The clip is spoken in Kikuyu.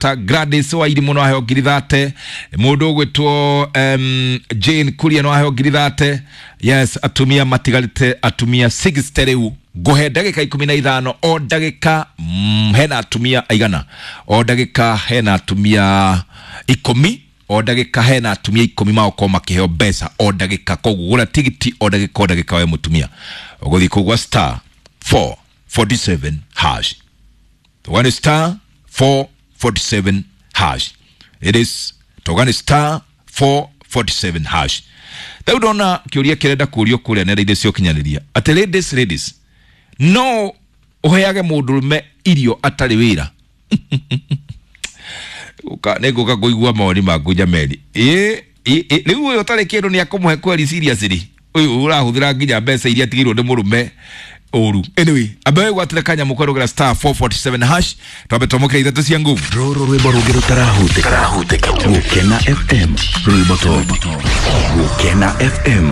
Ta Gladys wa Irimũ no aheo 30,000. Mũndũ ũgwĩtwo Jane Kuria no aheo 30,000. Yes, atumia matigarĩte atumia 60. Rĩu ngũhe ndagĩka 15 o ndagĩka, hena atumia aigana? O ndagĩka hena atumia 10, o ndagĩka hena atumia 10 magũkorwo makĩheo mbeca o ndagĩka. Koguo gũra tigiti o ndagĩka o ndagĩka. We mũtumia ũgũthiĩ kũgwa star 447 hash. Tũgane star 447 hash. It is tũgane star 447 hash. Rĩu ndona kĩũria kĩrenda kũrio kũrĩa nenda-inĩ cia ũkinyanĩria atĩ ladies, ladies, no ũheage mũndũrũme irio atarĩ wĩra? Nĩ ngũka kũigua mawoni maku jameni. Ĩ rĩu ũyũ ũtarĩ kĩndũ nĩ akũmũhe kweri? Seriously, ũyũ ũrahũthĩra nginya mbeca iria atigĩirwo nĩ mũrũme ũru. Anyway, ambe wĩgwatĩre kanyamũ kwerũgĩra star 447 hash, twambe twamũkĩra ithatũ cia nguvu. Rũrũ rwĩmbo rũngĩ rũtarahutĩka. Gũkena FM, rwĩmbo top. Gũkena FM.